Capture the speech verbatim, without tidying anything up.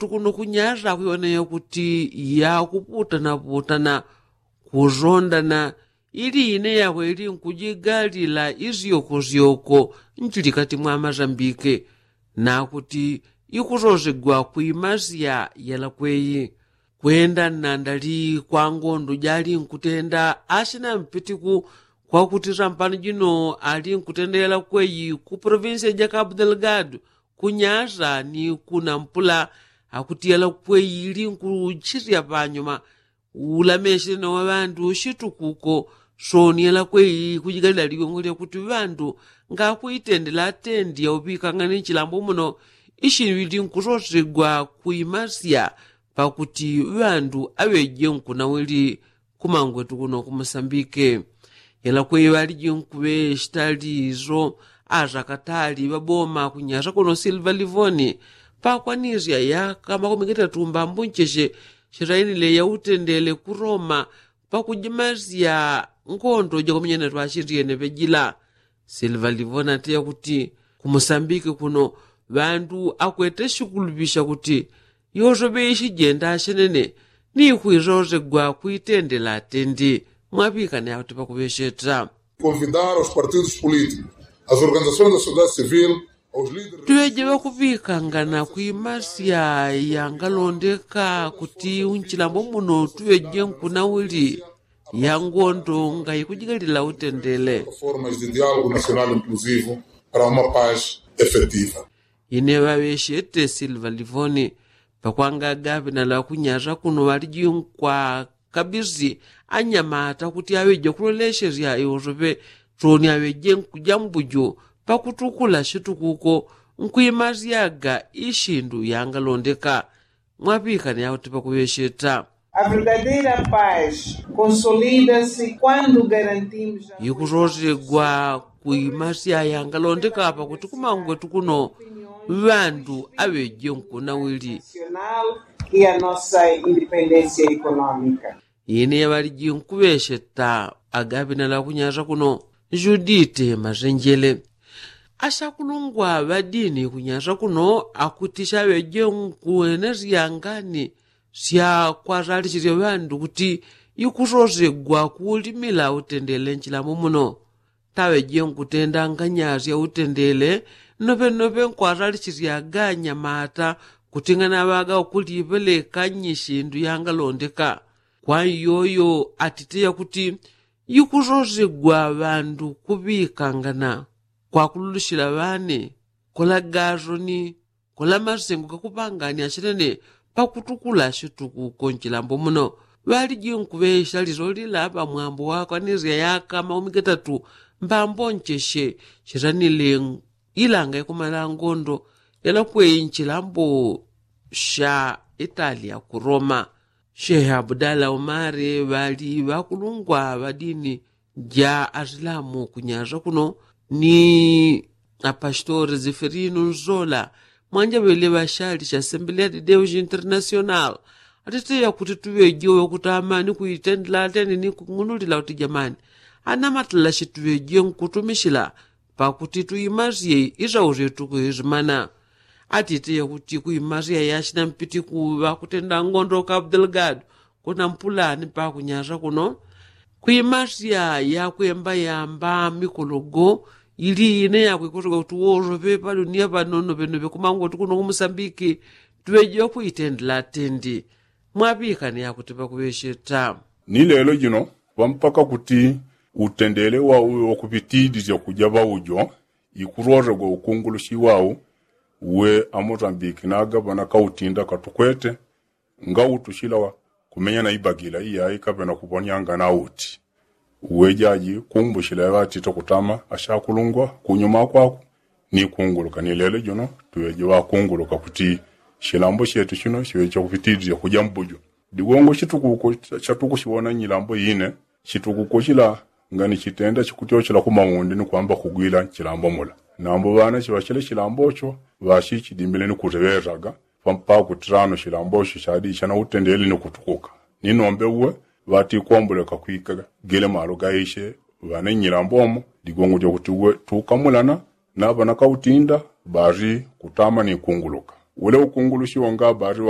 tukuno kunyasa kuiwona yakuti yakuputana putana kuzondana ili ine yakwe ili nkujigalila izyoko zyoko nchilikati mwa mazambike nakuti ikusosegwa kuimasya yalakweyi kwenda nandali kwa ngondo jali nkutenda asina mpitiku kwakuti sampano jino ali nkutenda yalakweyi ku provinsia ja kabu delgado kunyasa ni kunampula akuti yalakweyi ili nkuchisya panyuma ulamesye na ŵandu shitukuko soni yalakweyi kujigalila ligongo lyakuti ŵandu ngakuitendela atendi yauŵikang'ane nchilambo muno ishili nkusosegwa kuimasya pakuti ŵandu aŵeje nkunawili kumangwetu kuno kumusambike yalakweyi ŵaliji nkuŵeshita lizo asakatali ŵaboma kunyasa kuno silva livoni pakwanisya yaka makumi gatatu mbambo ncheshe shitainile yautendele ku roma pakujimasya ngondo jakumenyana twashindiene ŵejila silva livoni ati yakuti kumusambike kuno ŵandu akwete shikuluŵisha kuti yosoŵe ishijenda ashenene ni kwisosegwa kuitendela atendi mwaŵikane akuti pakuŵesheta convidar aos partidos políticos, às organizações da sociedade civil, aos líderes tuŵeje ŵakuŵikangana kuimasya yangalondeka kuti unchilambo muno tuŵeje nkunawili ya ngondo ngaikujigalila utendele formas de diálogo nacional inclusivo para uma paz efetiva. Ine ŵaŵeshete silva livoni pakwanga gaŵinala kunyasa kuno ŵaliji nkwa kabisi anyamata kuti aŵeje kuloleshesya iwosoŵe toni aŵeje nkuja mbujo pakutukula shitukuko nkwimasyaga ishindu yangalondeka mwaŵikane akuti pakuŵesheta a verdadeira paz consolida-se quando garantimos a ikusosigwa kuimasya yangalondeka pakuti kumangwetu kuno ŵandu aŵeje nkunawili nacional e a nossa independência econômica. Ine ŵaliji nkuŵesheta agaŵinala kunyasa kuno judite masenjele ashakulungwa ŵadini kunyasa kuno akuti shaŵeje nkuwenesya ngani sya kwasalisisya ŵandu kuti ikusosegwa kuulimila utendele nchilambo muno taŵeje nkutenda nganyasya utendele nnoŵennoŵe nkwasalisisya ganyamata kuti nganaŵaga ukuliŵeleka nyishindu yangalondeka kwa iyoyo atite yakuti ikusosegwa ŵandu kuŵikangana kwakululishila ŵane kola gasoni kola masengo gakuŵangania shinene pakutukula shitukuko nchilambo muno ŵaliji nkuŵesha lilolila ŵamwambo wakwanisya yaka maumi gatatu mbambo ncheshe shitanile ilanga ikumala ngondo yalakweyi nchilambo sha italia ku roma shehe abudala umari ŵali ŵakulungwa ŵadini ja asilamu kunyasa kuno ni apastori ziferino nzola mwanja ŵele ŵashali sha asembelea de deus international atiteya kuti tuŵeje ŵakutamani kuitendela ateni ni kung'unulila kuti jamani anamatala shituŵeje nkutumishila pakuti tuimasye isausye tukuisimana atiteya kuti kuimasya yashina mpiti kuŵa kutenda ngondo kabu delgado kuna mpulani pakunyasa kuno kwimasya yakwemba yamba mikologo ili ine yakwikosoga kuti wosoŵe padunia panono ŵenoŵe kumangoti kuno kumusambiki tuŵejiwa kuitendela atendi mwaŵikane yakuti pakuŵesheta ni lelo jino pampaka kuti utendele wauwe wakupitidisya kuja ŵaujo ikuroragwa ukungulushi wau uwe amosambiki nagaŵa nakautinda katukwete ngautushila kumenya na ibagila iyayi kaŵe nakuŵonyanga nauti uwe jaji kumbushila yaŵatite kutama ashakulungwa kunyuma kwaku ni kunguluka ni lelo jino tuŵeje ŵakunguluka kuti shilambo shetu shino shiŵeje chakupitidisya kuja mbujo digongo shitukuko shatukushiwona nyilambo ine shitukuko shila ngani shitenda shikutyoshela kumaundi ni kwamba kugwila nchilambo mula nambo ŵana shiŵashile shilambo sho ŵashichidimile ni kuteŵesaga pakuti tano shilambo sho shadi shanautendele ni kutukuka ni nombe uwe ŵatikomboleka kwika gele malo gaishe ŵane nyilambo mo digongo dyakuti uwe tukamulana naŵa nakautinda ŵali kutama ni kunguluka wele ukungulushi wonga ŵali